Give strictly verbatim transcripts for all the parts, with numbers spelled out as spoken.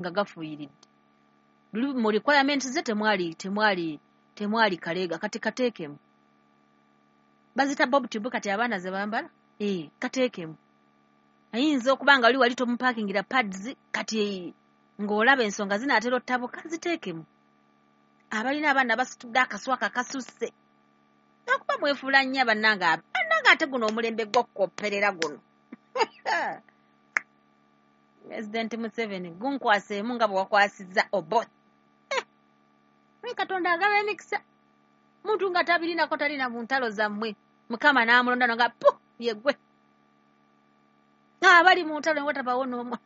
Nga gafuuyiridde. Luli mu requirements ze temwali temwali temwali kaleega, kati kateekemu. Bazita bob tube kati abaana ze bambala, ee, kateekemu. Ayinza okuba nga wali wali tomupaakingira pads, kati ng'olaba ensonga zinaatera ottabuka, ziteekemu. Abalina abaana basitudde akaswaka kasusse, nakuba mwefuula nnyo bannange, bannange ate guno omulembe gw'okukopperera guno. Pulezidenti Museveni, gunkwaseemu nga bwe wakwasizza Oboth. Eh, Katonda agaba emikisa. Muntu nga tabirinako talina mu ntalo zammwe, Mukama n'amulonda nga pu ye ggwe. Abali mu ntalo ne watabawo n'omu.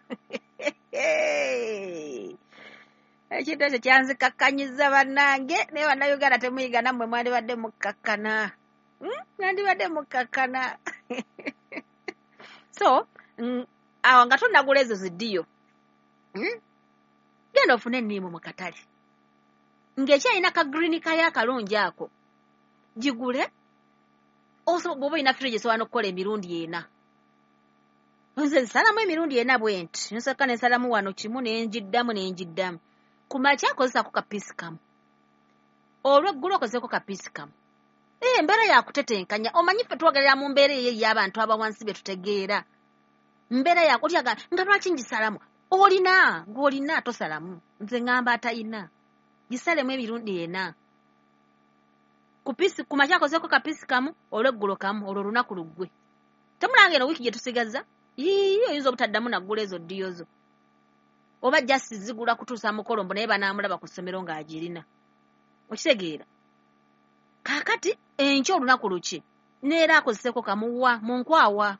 Ekintu ekyo kyanzikakkanyiza bannange, naye Bannayuganda temuyiga, nammwe mwandibadde mukkakkana. Mwandibadde mukkakkana. So, awo nga tonnagula ezo ziddiyo, genda ofune enniimu mu katale. Ng'ekyalina ka green kayo akalungi ako, gigule, bw'oba olina fridge esobola n'okukola emirundi ena. Nze nsalamu emirundi ena bwe nti, nsooka ne nsalamu wano kimu ne ngiddamu ne ngiddamu. Ku makya akozesaako kapiisi kamu, olw'eggulo okozeeko kapiisi kamu. Ee, embeera yakutetenkanya. Omanyi ffe twogerera mu mbeera eyo ey'abantu abawansi be tutegeera. Mbeera yakutyaga nga lwaki ngisalamu? Olina, gw'olina tosalamu. Nze ŋŋamba atayina. Gisalemu emirundi ena. Ku piisi, ku makya akozeeko kapiisi kamu, olw'eggulo kamu, olwo olunaku luggwe. Temulanga eno wiiki gye tusigazza? Yii, oyinza obutaddamu naggula ezo ddiyo zo. Oba just zigula kutuusa mukolo mbu naye banaamulaba ku ssomero ng'agirina. Okitegeera? Kaakati enkya olunaku luki? Neera akozeseeko kamuwa mu nkwawa.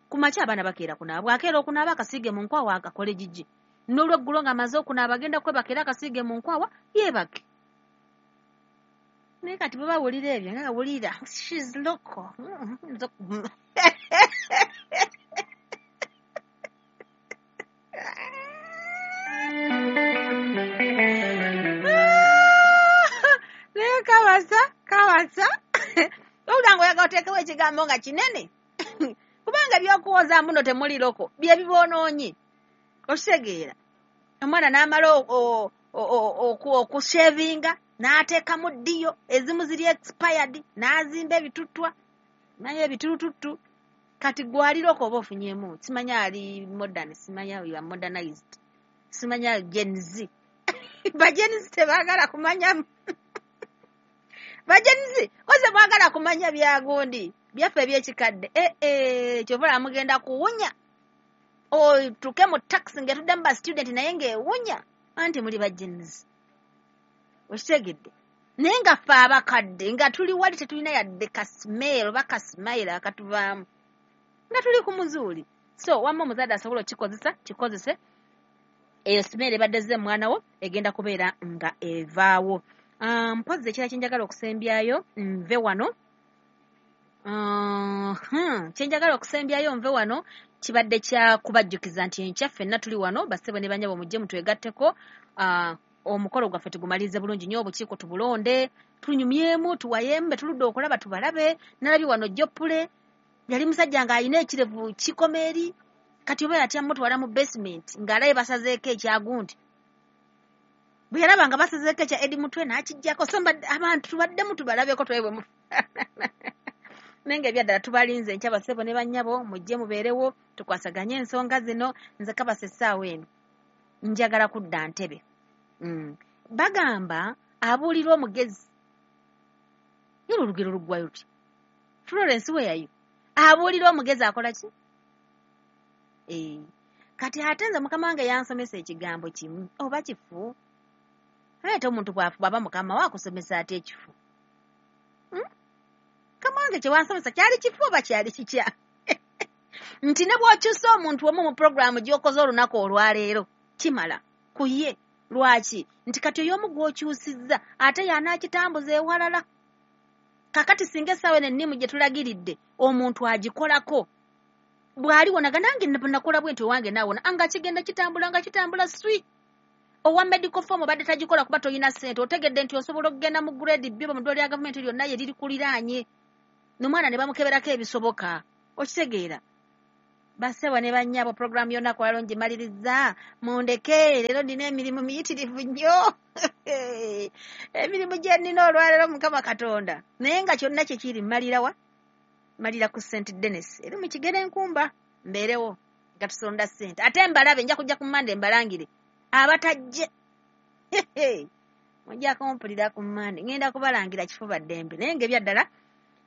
Ku makya abaana bakeera kunaaba, bw'akeera okunaaba akasiige mu nkwawa akakole gigi. N'olweggulo ng'amaze okunaaba agenda kwebaka era akasiige mu nkwawa yeebake. Naye kati bwe bawulira ebyo nga wulira she's local. Naye kabasa kabasa owulira ng'oyagala oteekewo ekigambo nga kinene, kubanga ebyokuwoza mbuno temuli loko bye biboonoonye. Okitegeera? Omwana n'amala okushevinga n'ateekamu ddiyo, ezimu ziri expired, n'azimba ebituttwa naye ebitulututtu. Kati gwali loko oba ofunyeemu, simanya ali modern, simanya you are modernized, simanya Gen Z. Ba Gen Z tebaagala kumanya, ba Gen Z koze mwagala kumanya byagundi byaffe ebyekikadde. Eh eh, kyova mugenda kuwunya otuke mu taxi ng'etudde mu ba student naye ng'ewunya, anti muli ba Gen Z. Okitegedde? Naye nga ffe abakadde nga tuli wali tetulina yadde ka smell oba ka smile akatuvaamu, nga tuli ku muzuuli. So wamma omuzadde asobola okikozesa, kikozese. Eyo smell ebadde ezze mwana wo egenda kubeera nga evaawo. Mpozzi ekirala kye njagala okusembyayo nve wano, kye njagala okusembyayo nve wano kibadde kya kubajjukiza nti enkya ffenna tuli wano, bassebo ne bannyabo mujje mutwegatteko, omukolo gwaffe tugumalirize bulungi nnyo, obukiiko tubulonde, tunyumyemu, tuwayemu, be tuludde okulaba tubalabe. Nalabye wano Jopule yali musajja ng'alina ekirevu kikoma eri, kati oba yatya mutwala mu basement ng'alabe basazeeko ekyagundi. Bwe yalaba nga basazeeko ekya Eddie Mutwe n'akiggyako. So abantu tubaddemu tubalabeko twebwe mu naye nga ebyaddala tubalinze enkya bassebo ne bannyabo, mujje mubeerewo tukwasaganye ensonga zino. Nze kabasa essaawa eno njagala kudda ntebe. Mm. Bagamba abuulira omugezi, yolo olugero luggwayo luti? Florence weyayo abuulira omugezi akola ki? Eh, kati ate nze mukama wange yansomesa ekigambo kimu oba kifu. Ate omuntu bw'aba mukama we akusomesa ate ekifu. Mm? Mukama wange kye wansomesa kyali kifu oba kyali kikya? Nti ne bw'okyusa omuntu omu mu puroguraamu gy'okoze olunaku olwaleero kimala ku ye. Lwaki? Nti kati oyo omu gw'okyusizza ate y'anaakitambuza ewalala. Kaakati singa essaawa eno ennimu gye tulagiridde omuntu agikolako, bw'aliwonaga nange nakola bwe nti owange naawona, nga kigenda kitambula nga kitambula swi. Owa medical form obadde tagikola kuba toyina ssente, otegedde nti osobola okugenda mu grade B mu ddwaliro lya gavumenti lyonna ye liri kuliraanye, n'omwana ne bamukeberako ebisoboka. Okitegeera? Bassebo ne bannyabo, puroguramu yonna kwaliro ngimaliriza. Mundeke, leero nina emirimu miyitirivu nnyo, emirimu gye nnina olwaleero, Mukama Katonda. Naye nga kyonna kye kiri, mmalirawa? Mmalira ku Saint Denis eri mu Kigere Nkumba, mbeerewo nga tusonda ssente. Ate mbalabe, nja kujja ku Mande mbalangire abatajje. Mujja kumpulira ku Mande, ŋŋenda kubalangira kifuba ddembe. Naye ng'ebyaddala,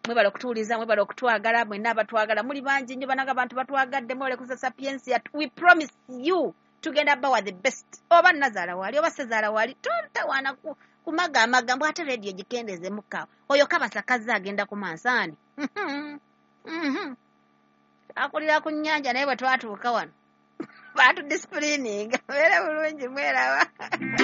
mwebale okutuwuliza, mwebale okutwagala, mwenna abatwagala muli bangi nnyo. Bananga, abantu batwagadde, mwebale kuza Sapiensia. We promise you, tugenda bawa the best. Oba nazaala waali oba sezaala waali, tontawaana kumaga mbu ate rediyo gikendeezemukkaawo. Oyo kabasa kazze agenda ku mansaani. Akulira ku nnyanja, naye bwe twatuuka wano batudisciplininga. Beera bulungi, mweraba.